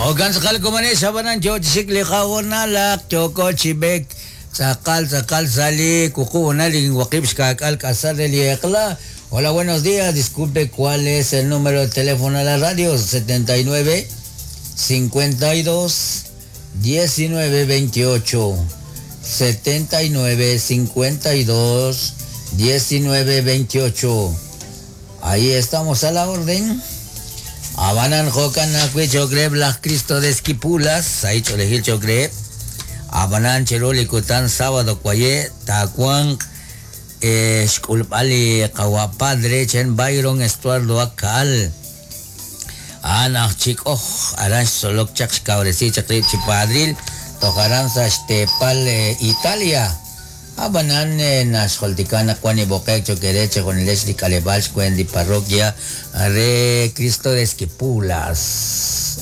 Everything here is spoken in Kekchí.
Jo'kan tz'aqal komonex ab'anan yo chi xik li qahonalaq yooko chi b'eek tz'aqal tz'aqal sa' li wuqub' honal rik'in waqib' xkaak'al k'asal re li eq'la. Hola, buenos días. Disculpe, ¿cuál es el número de teléfono de la radio? 79 52 19 28. 79 52 19 28. Ahí estamos a la orden. Abanan jokan ajwi' cho'q reheb' laj Cristo de Esquipulas, sahil ch'oolejil cho'q reheb'. Abanan chiru li kutan sábado waye' taawanq xk'ulb'al li qawa' padre chen Byron Estuardo Akal. A'an aj Chik'oj, aran xtzolok chaq xkawresi chaq rib' chi padril toj aran sa' xteepal Italia. Ab'anan, naxjultika naq wan li b'oqe'k cho'q eere chejunilex li k'aleb'aal xweent li parroquia re Cristo de Esquipulas.